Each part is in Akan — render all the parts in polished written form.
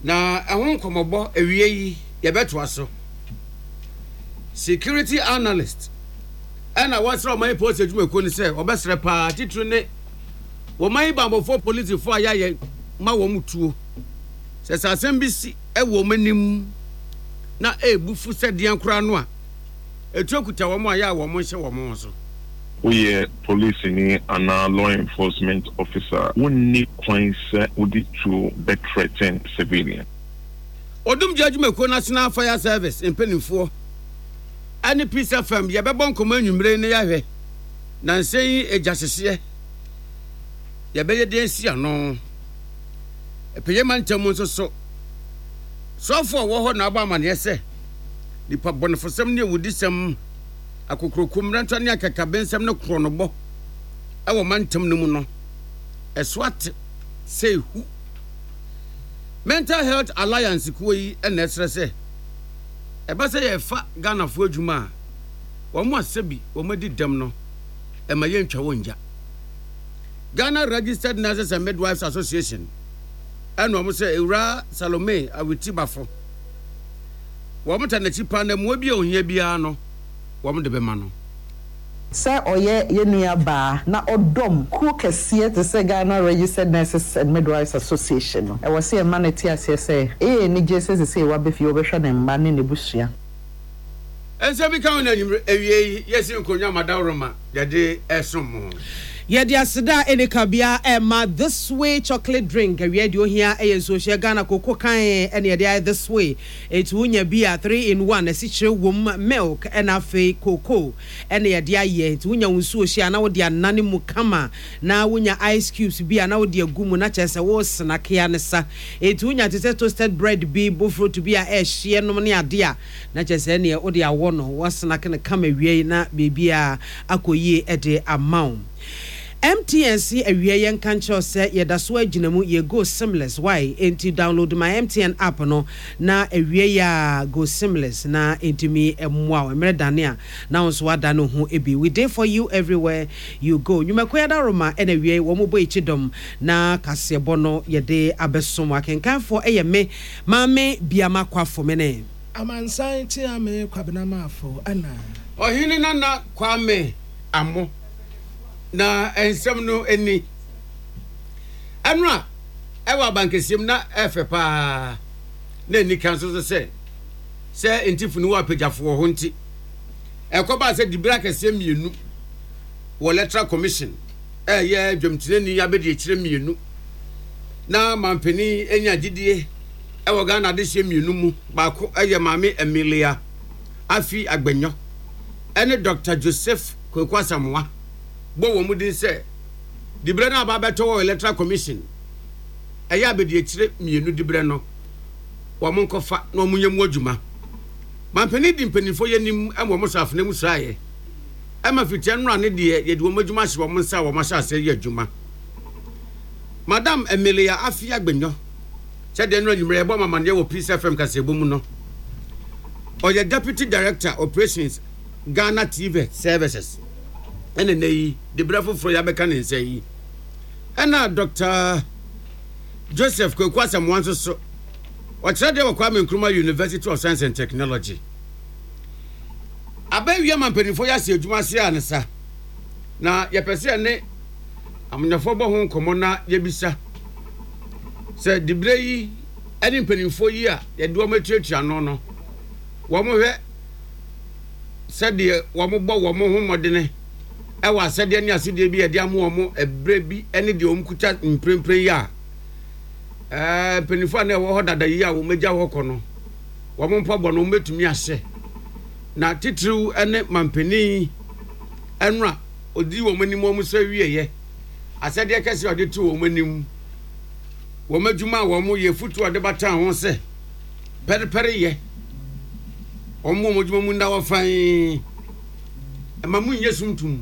Na ɛho nkɔmmɔbɔ awie yi yɛbɛtoa so. Security analyst ɛna wɔsrɛ ɔman yi polisi adwumakuo no sɛ wɔbɛsrɛ paa titiri ne wɔman yi banbɔfoɔ polisifoɔ a yɛayɛ ma wɔn tuo sɛ sɛ asɛm bi si wɔ wɔn anim na ɛrebu fu sɛ deɛn koraa no a etuo kuta wɔn a yɛ a wɔn nhyɛ wɔn ho so. Woyɛ polisini anaa law enforcement officer a, wonni kwan sɛ wode tuo bɛ threaten civilian. Odumgya adwumakuo National Fire Service mpaninfoɔ ɛne Peace FM yɛbɛbɔ nkɔmmɔ anwummere yi na yɛahwɛ nansa yi egya hyehyeɛ yɛbɛyɛ deɛn asi ano. Ɛpɛyɛ mantam mu nso so soafoɔ a ɔwɔ hɔ na abɔ amaneɛ sɛ nipa bɔnefosɛm ne awudisɛm akokuroko mmerɛntɔ ne akakabensɛm ne korɔnobɔ wɔ mantam no mu no ɛso ate sɛ ehu. Mental Health Alliance kuo yi na ɛsrɛ sɛ ɛba sɛ yɛrefa Ghanafoɔ adwuma a, wɔn a sɛbi wɔn adi dɛm no, ɛma yɛntwa wɔn gya. Ghana Registered Nurses and Midwives Association ɛna wɔn sɛ Ewura Salome Awiti Bafo wɔn ta n'akyi paa na mmoa bi a ohia biara no wɔn de bɛma no. Sɛ ɔyɛ yɛn nua baa na ɔdɔm kuo kɛseɛ te sɛ Ghana Registered Nurses and Midwives Association no, ɛwɔ sɛ yɛma no te aseɛ sɛ ɛyɛ anigyeɛ sɛ sesei waba fie, ɔbɛhwɛ ne mma ne n'abusua. Nsɛm bi ka ho na anwummere awiei yi yɛasi nkonnwa ma dawuroma yɛde resom mo. Yɛde aseda a ɛnni kabea rema This Way Chocolate Drink. Awia deɛ ohia yɛ nsuohyɛ Ghana koko kann ɛna yɛde ayɛ This Way. Enti wonya bi a, 3 in 1, asikyire wom, milk ɛna afei cocoa ɛna yɛde ayɛ. Enti wonya wo nsuohyɛ a na wode anane mu kama na wonya ice cubes bi a na wode agu mu na kyerɛ sɛ wo snacke ara ne sa. Enti wonya te sɛ toasted bread bi, bofrot bi a ɛhyeɛ nom ne adeɛ a, na kyerɛ sɛ ɛneɛ wode awɔ no, woasnacke no kama awiei na biribiara akɔ yie de ama wo. MTN se awia yɛnka nkyerɛ wo sɛ yɛda so ara gyina mu, yɛ go seamless wai, enti download my MTN app no na awia yi ara go seamless na ɛntumi mmoa wo, mmerɛ dane a na wo nso woadane wo ho bi. We dey for you everywhere you go. Nnwumakuo yi adaworoma na awia yi wɔn bɔ akyi dɔm na kaseɛbɔ no yɛde abɛsom. Akenkanfoɔ yɛ me Maame Biama Kwafo mene. Amansan Kyeame Kwabena Marfo ɛna. Ɔhene Nana Kwame Amo na nsɛm no ni. Ɛno a ɛwɔ abankɛseɛ mu na ɛfɛ paa na ɛni kan nso so sɛ sɛ ntifo no wɔ apagyafo wɔ hɔ nti ɛkɔbaa sɛ dibere akɛseɛ mmienu wɔ Electoral Commission ɛyɛ dwamtenani abɛdiakyire mmienu na mampanin anya gyidie ɛwɔ Ghana adehyeɛ mmienu mu baako ɛyɛ Maame Emilia Afi Agbenyo ɛne Dr. Joseph Kwaku Asamoah bɔ wɔn din sɛ diberɛ no aba abɛtɔ wɔ Electoral Commission ɛyɛ abɛdiakyire mmienu diberɛ no wɔn nkɔfa na wɔn nyɛ mu adwuma. Mampanin di mpanimfoɔ yɛ anim ma wɔn sɔ afena mu sraeɛ ɛma fitia nnora ne deɛ yɛde wɔn adwuma ahyɛ wɔn nsa a wɔn ahyɛ aseɛ yɛ adwuma. Madam Emilia Afia Agbenyo sɛdeɛ nnora anwummerɛ yɛbɔ amamanneɛ wɔ Peace FM kaseɛbɔ mu no ɔyɛ Deputy Director Operations Ghana TV Services ɛna nnɛ yi de berɛ foforɔ yi abɛka ne nsa yi ɛna Dr. Joseph Kwaku Asamoah nso so ɔkyerɛ deɛ wɔ Kwame Nkrumah University of Science and Technology abɛwia ma mpanimfoɔ yi ase adwuma ase a ne sa na yɛpɛ sɛ yɛne amanyɔfoɔ bɔ ho nkɔmmɔ na yɛbisa sɛ diberɛ yi ne mpanimfoɔ yi a yɛde wɔn atuatua ano no wɔn hwɛ sɛdeɛ wɔbɔ wɔn ho mmɔdene wɔ asɛdeɛ ne asodie bi a yɛde ama wɔn ɛberɛ bi ne deɛ wɔn kuta mprempren yi a ɛɛ mpanimfoɔ a na ɛwɔ hɔ dada yi a wɔn agya hɔ kɔ no wɔn mpaboa no wɔbɛtumi ahyɛ na titiriw ne mampanin ɛno a ɔdi wɔn anim wɔn sɛ wieɛ asɛdeɛ kɛseɛ a ɔde to wɔn anim wɔn adwuma a wɔn yɛ futu a ɔde bata ho sɛ pɛrepɛreyɛ, wɔn wɔn adwuma mu nna hɔ fann, ɛma mu nyɛ sum tum,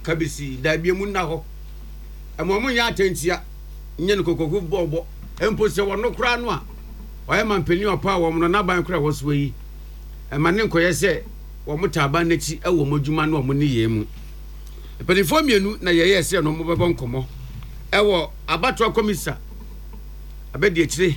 kabisi, dabi emu nna hɔ, ɛma wɔn nyɛ atɛnkyia, nyɛ no kokoku bɔɔbɔ, mpo sɛ wɔn koraa no a, ɔyɛ mampanyin ɔpa a wɔn no n'aban koraa wɔ soɔ yi, ɛma ne nkɔyɛ sɛ wɔn taa aban n'akyi wɔ wɔn adwuma ne wɔn nneyɛɛ mu. Mpanimfoɔ mmienu na yɛyɛɛ sɛ no wɔbɛbɔ nkɔmmɔ ɛwɔ abatoɔ kɔmisa abɛdi akyire.